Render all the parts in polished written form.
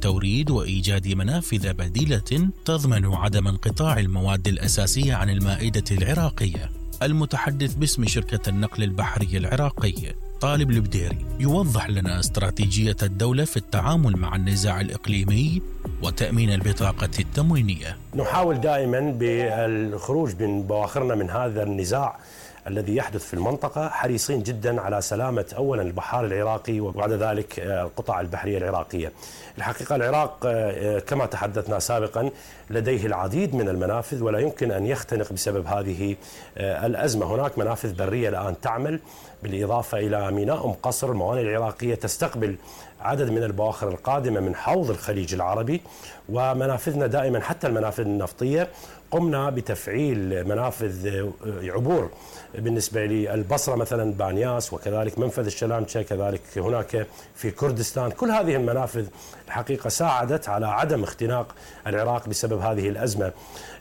التوريد وإيجاد منافذ بديلة تضمن عدم انقطاع المواد الأساسية عن المائدة العراقية. المتحدث باسم شركة النقل البحري العراقي طالب البديري يوضح لنا استراتيجية الدولة في التعامل مع النزاع الإقليمي وتأمين البطاقة التموينية. نحاول دائما بالخروج من بواخرنا من هذا النزاع الذي يحدث في المنطقة، حريصين جدا على سلامة أولا البحار العراقي وبعد ذلك القطع البحرية العراقية. الحقيقة العراق كما تحدثنا سابقا لديه العديد من المنافذ ولا يمكن أن يختنق بسبب هذه الأزمة. هناك منافذ برية الآن تعمل، بالإضافة إلى ميناء قصر. الموانئ العراقية تستقبل عدد من البواخر القادمة من حوض الخليج العربي، ومنافذنا دائما حتى المنافذ النفطية قمنا بتفعيل منافذ عبور بالنسبة للبصرة مثلا بانياس، وكذلك منفذ الشلامشة، كذلك هناك في كردستان. كل هذه المنافذ الحقيقة ساعدت على عدم اختناق العراق بسبب هذه الأزمة.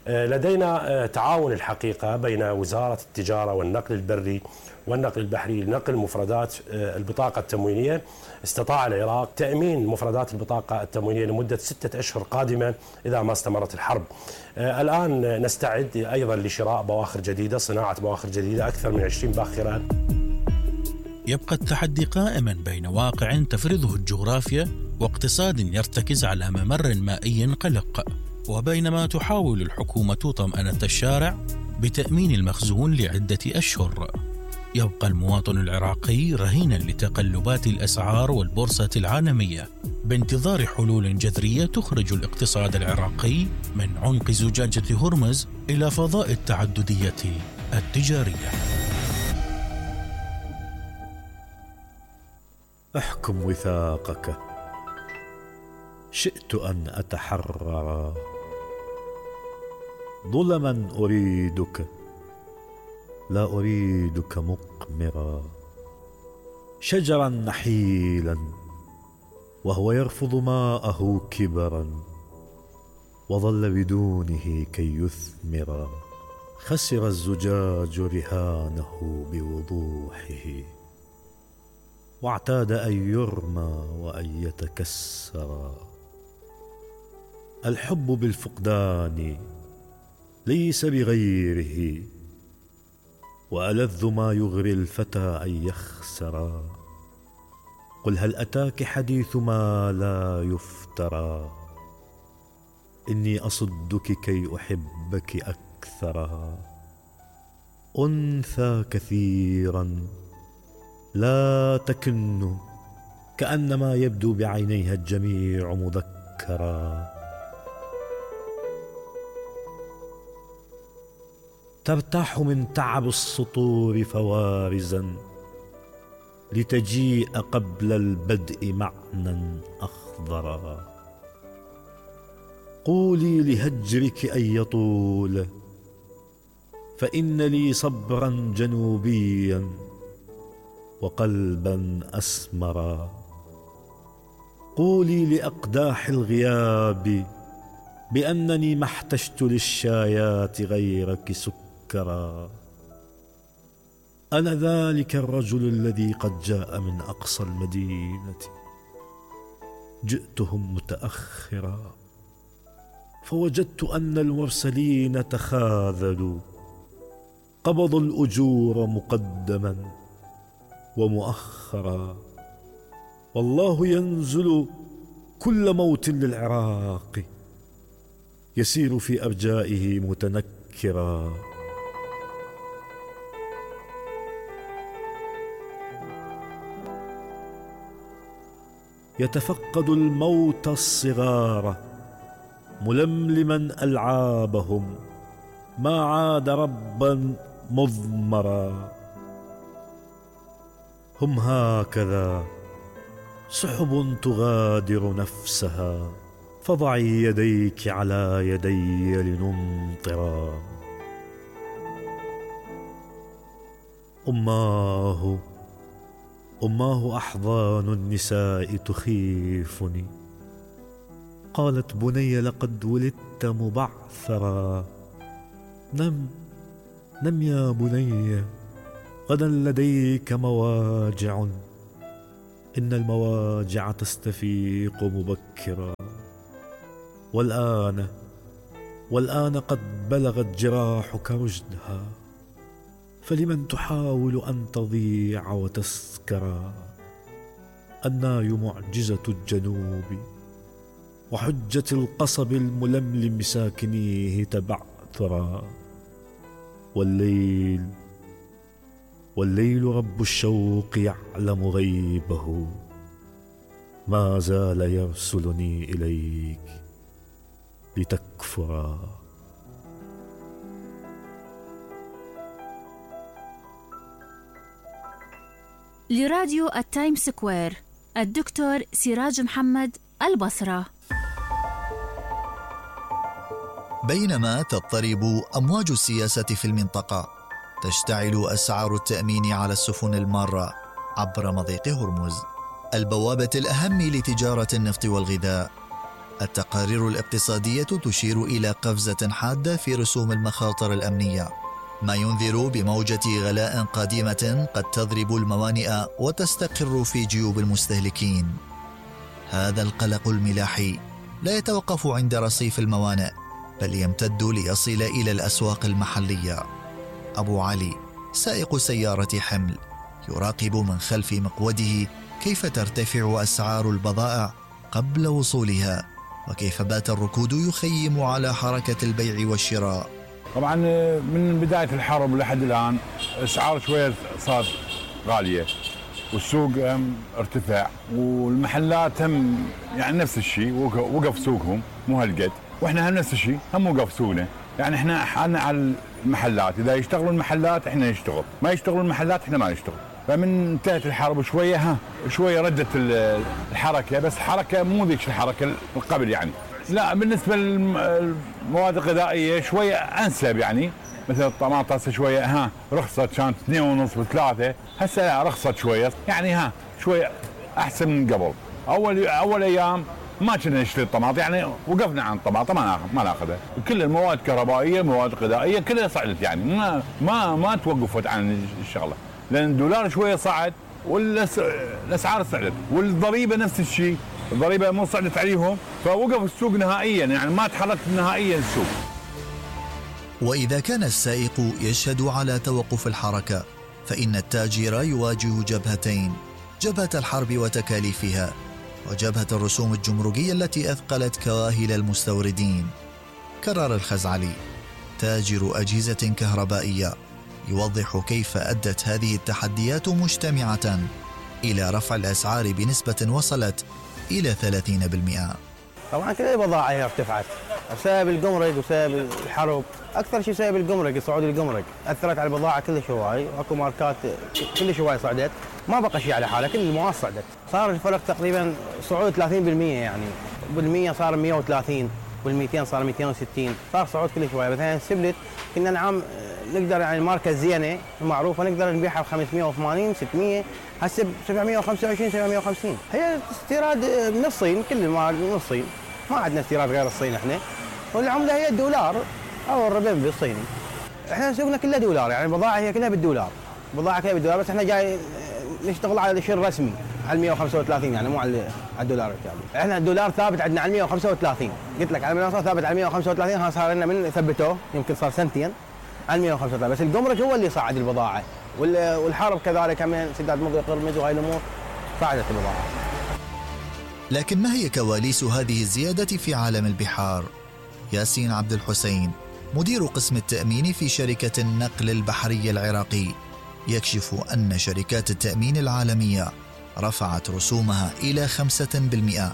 لدينا تعاون الحقيقة بين وزارة التجارة والنقل البري والنقل البحري لنقل مفردات البطاقة التموينية. استطاع العراق تأمين مفردات البطاقة التموينية لمدة 6 أشهر قادمة إذا ما استمرت الحرب. الآن نستعد أيضا لشراء بواخر جديدة، صناعة بواخر جديدة، أكثر من 20 باخرة. يبقى التحدي قائما بين واقع تفرضه الجغرافيا واقتصاد يرتكز على ممر مائي قلق، وبينما تحاول الحكومة طمأنة الشارع بتأمين المخزون لعدة أشهر، يبقى المواطن العراقي رهينا لتقلبات الأسعار والبورصة العالمية بانتظار حلول جذرية تخرج الاقتصاد العراقي من عنق زجاجة هرمز إلى فضاء التعددية التجارية. احكم وثاقك، شئت أن أتحرر. ظلما أريدك، لا أريدك مقمرا. شجرا نحيلا وهو يرفض ماءه كبرا، وظل بدونه كي يثمرا. خسر الزجاج رهانه بوضوحه، واعتاد أن يرمى وأن يتكسرا. الحب بالفقدان ليس بغيره، وألذ ما يغري الفتى أن يخسرا. قل هل أتاك حديث ما لا يفترى، إني أصدك كي أحبك أكثرا. أنثى كثيرا لا تكن، كأنما يبدو بعينيها الجميع مذكرا. ترتاح من تعب السطور فوارزا، لتجيء قبل البدء معنى أخضرا. قولي لهجرك أن يطول، فإن لي صبرا جنوبيا وقلبا أسمرا. قولي لأقداح الغياب بأنني ما احتجت للشايات غيرك سكرا. أنا ذلك الرجل الذي قد جاء من أقصى المدينة، جئتهم متأخرا، فوجدت أن المرسلين تخاذلوا، قبضوا الأجور مقدما ومؤخرا. والله ينزل كل موت للعراق، يسير في أرجائه متنكرا. يتفقد الموت الصغار ململما ألعابهم، ما عاد ربا مضمرا. هم هكذا سحب تغادر نفسها، فضعي يديك على يدي لنمطرا. أماه أحضان النساء تخيفني. قالت بني لقد ولدت مبعثرا. نم يا بني، غدا لديك مواجع، إن المواجع تستفيق مبكرا. والآن قد بلغت جراحك رشدها، فلمن تحاول أن تضيع وتسكر؟ الناي معجزة الجنوب، وحجة القصب الململم ساكنيه تبعثرا. والليل رب الشوق يعلم غيبه، ما زال يرسلني إليك لتكفرا. لراديو التايم سكوير، الدكتور سراج محمد، البصرة. بينما تضطرب أمواج السياسة في المنطقة، تشتعل أسعار التأمين على السفن المارة عبر مضيق هرمز، البوابة الأهم لتجارة النفط والغذاء. التقارير الاقتصادية تشير إلى قفزة حادة في رسوم المخاطر الأمنية، ما ينذر بموجة غلاء قادمة قد تضرب الموانئ وتستقر في جيوب المستهلكين. هذا القلق الملاحي لا يتوقف عند رصيف الموانئ، بل يمتد ليصل إلى الأسواق المحلية. أبو علي سائق سيارة حمل يراقب من خلف مقوده كيف ترتفع أسعار البضائع قبل وصولها، وكيف بات الركود يخيم على حركة البيع والشراء. طبعا من بداية الحرب لحد الآن أسعار شوية صارت غالية، والسوق ارتفع، والمحلات هم يعني نفس الشيء، وقف سوقهم مو هالقد، واحنا هم نفس الشيء، هم وقف سوقنا. يعني احنا حالنا على المحلات، اذا يشتغلوا المحلات احنا نشتغل، ما يشتغلوا المحلات احنا ما نشتغل. فمن انتهت الحرب شويه ردت الحركه، بس حركه مو ذيك الحركه القبل يعني. لا بالنسبه للمواد الغذائيه شويه انسب، يعني مثل الطماطم شويه رخصت، كانت 2.5 و3، هسه رخصت شويه، يعني شويه احسن من قبل. اول ايام ما كنا نشتري الطماطم، يعني وقفنا عن الطماطم ما ناخذها. كل المواد الكهربائيه، مواد غذائيه كلها صعدت، يعني ما توقفت عن الشغله، لان الدولار شويه صعد والاسعار صعدت، والضريبه نفس الشيء، الضريبه مو صعدت عليهم، فوقف السوق نهائيا، يعني ما تحرك نهائيا السوق. وإذا كان السائق يشهد على توقف الحركة، فإن التاجر يواجه جبهتين: جبهة الحرب وتكاليفها، وجبهة الرسوم الجمركية التي أثقلت كواهل المستوردين. كرر الخزعلي تاجر أجهزة كهربائية يوضح كيف أدت هذه التحديات مجتمعة إلى رفع الأسعار بنسبة وصلت إلى 30%. طبعا كل البضائع هي ارتفعت بسبب الجمرك وسبب الحرب، اكثر شيء بسبب الجمرك، صعود الجمرك اثرت على البضاعه كلش هواي، واكو ماركات كلش هواي صعدت، ما بقى شيء على حاله، كل المواد صعدت. صار الفرق تقريبا صعود 30%، يعني بال100 صار 130 وال200 صار 260، صار صعود كلش هواي. مثلا السبلت كنا نعم نقدر يعني الماركه الزينه المعروفه نقدر نبيعها ب 580 600، هسه ب 725 750. هي استيراد من الصين، كل المواد من الصين، ما عندنا استيراد غير الصين احنا، والعمله هي الدولار او الربيع الصيني. احنا سوقنا كله دولار، يعني البضاعه هي كلها بالدولار، البضاعه كلها بالدولار، بس احنا جاي نشتغل على الشيء الرسمي على 135، يعني مو على الدولار الكامل. احنا الدولار ثابت عندنا على 135، قلت لك على المنصه ثابت على 135، صار لنا من ثبتوه يمكن صار سنتين على 135، بس الجمرك هو اللي صعد البضاعه، والحرب كذلك كمان سداد مضيق هرمز وهاي الامور صعدت البضاعه. لكن ما هي كواليس هذه الزيادة في عالم البحار؟ ياسين عبد الحسين مدير قسم التأمين في شركة النقل البحري العراقي يكشف أن شركات التأمين العالمية رفعت رسومها إلى 5%،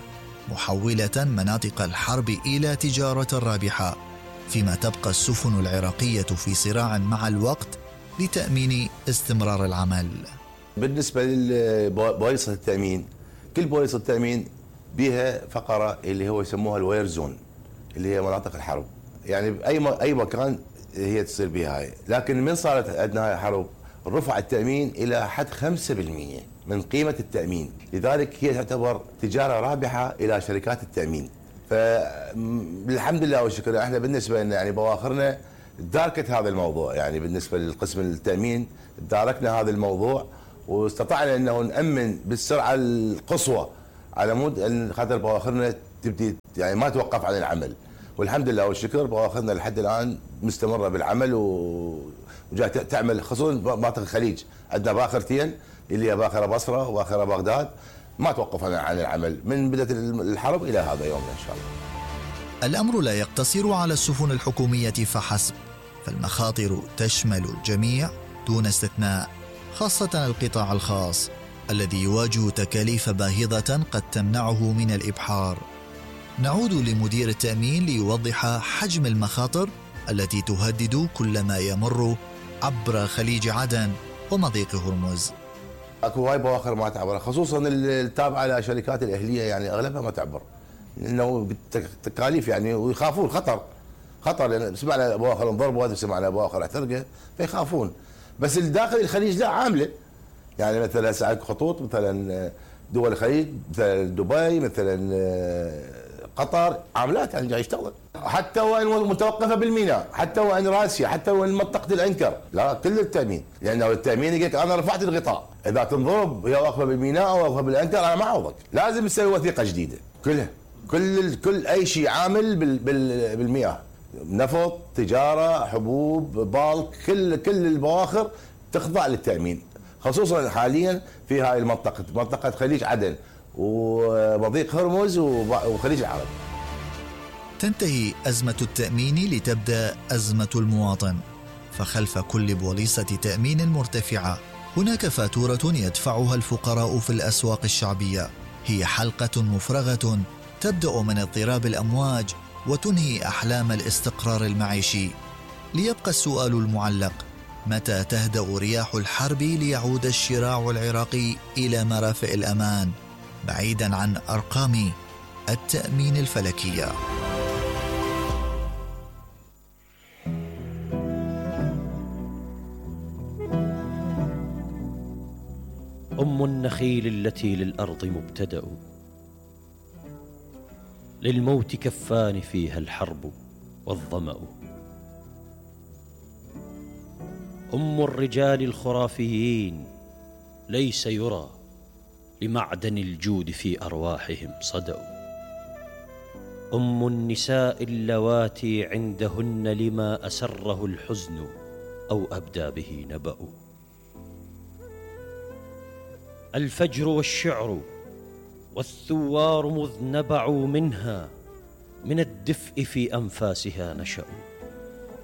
محولة مناطق الحرب إلى تجارة رابحة، فيما تبقى السفن العراقية في صراع مع الوقت لتأمين استمرار العمل. بالنسبة لبوليصة التأمين، كل بوليصة التأمين بها فقرة اللي هو يسموها الوير زون، اللي هي مناطق الحرب، يعني أي مكان هي تصير بها هاي. لكن من صارت عندنا هاي حرب رفع التأمين إلى حد 5% من قيمة التأمين، لذلك هي تعتبر تجارة رابحة إلى شركات التأمين. فالحمد لله والشكر، احنا بالنسبة لنا يعني بواخرنا داركت هذا الموضوع، يعني بالنسبة للقسم التأمين داركنا هذا الموضوع، واستطعنا انه نأمن بالسرعة القصوى على مود ان خاطر بواخرنا تبدي يعني ما توقف عن العمل، والحمد لله والشكر بواخرنا لحد الان مستمره بالعمل وجاي تعمل، خصوصا مناطق الخليج عندنا باخرتين اللي هي باخره بصره وباخره بغداد، ما توقف عن العمل من بدايه الحرب الى هذا يومنا ان شاء الله. الأمر لا يقتصر على السفن الحكومية فحسب، فالمخاطر تشمل الجميع دون استثناء، خاصة القطاع الخاص الذي يواجه تكاليف باهظة قد تمنعه من الإبحار. نعود لمدير التأمين ليوضح حجم المخاطر التي تهدد كل ما يمر عبر خليج عدن ومضيق هرمز. اكو هاي بواخر ما تعبر، خصوصا التابعه لشركات الاهليه يعني اغلبها ما تعبر، لانه تكاليف يعني ويخافون خطر لان سمعنا بواخر انضربوا، سمعنا بواخر احترقت فيخافون. بس الداخل الخليج لا عامله، يعني مثلا هسه خطوط مثلا دول الخليج مثلا دبي مثلا قطر عاملات يعني جاي يشتغل، حتى وان متوقفه بالميناء، حتى وان راسيه، حتى وان منطقه الانكر، لا كل التامين، لانه التامين يقول لك انا رفعت الغطاء، اذا تنضرب هي واقفه بالميناء او واقفه بالانكر انا ما اعوضك، لازم تسوي وثيقه جديده كلها، كل اي شيء عامل بالمياه، نفط، تجاره، حبوب، بالك، كل البواخر تخضع للتامين، خصوصا حاليا في هاي المنطقه، منطقه خليج عدن ومضيق هرمز وخليج العرب. تنتهي أزمة التأمين لتبدأ أزمة المواطن، فخلف كل بوليصة تأمين مرتفعة هناك فاتورة يدفعها الفقراء في الأسواق الشعبية، هي حلقة مفرغة تبدأ من اضطراب الأمواج وتنهي أحلام الاستقرار المعيشي. ليبقى السؤال المعلق: متى تهدأ رياح الحرب ليعود الشراع العراقي إلى مرافئ الأمان بعيداً عن أرقام التأمين الفلكية؟ أم النخيل التي للأرض مبتدأ، للموت كفان فيها الحرب والظمأ. أم الرجال الخرافيين ليس يرى لمعدن الجود في أرواحهم صدأ. أم النساء اللواتي عندهن لما أسره الحزن أو أبدى به نبأ. الفجر والشعر والثوار مذ نبعوا منها، من الدفء في أنفاسها نشأوا.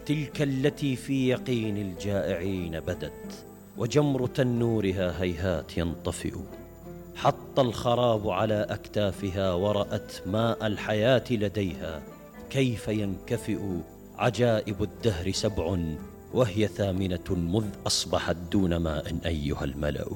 تلك التي في يقين الجائعين بدت، وجمر تنورها هيهات ينطفئ. حط الخراب على أكتافها ورأت ماء الحياة لديها، كيف ينكفئ عجائب الدهر 7 وهي 8 مذ أصبحت دون ماء أيها الملأ.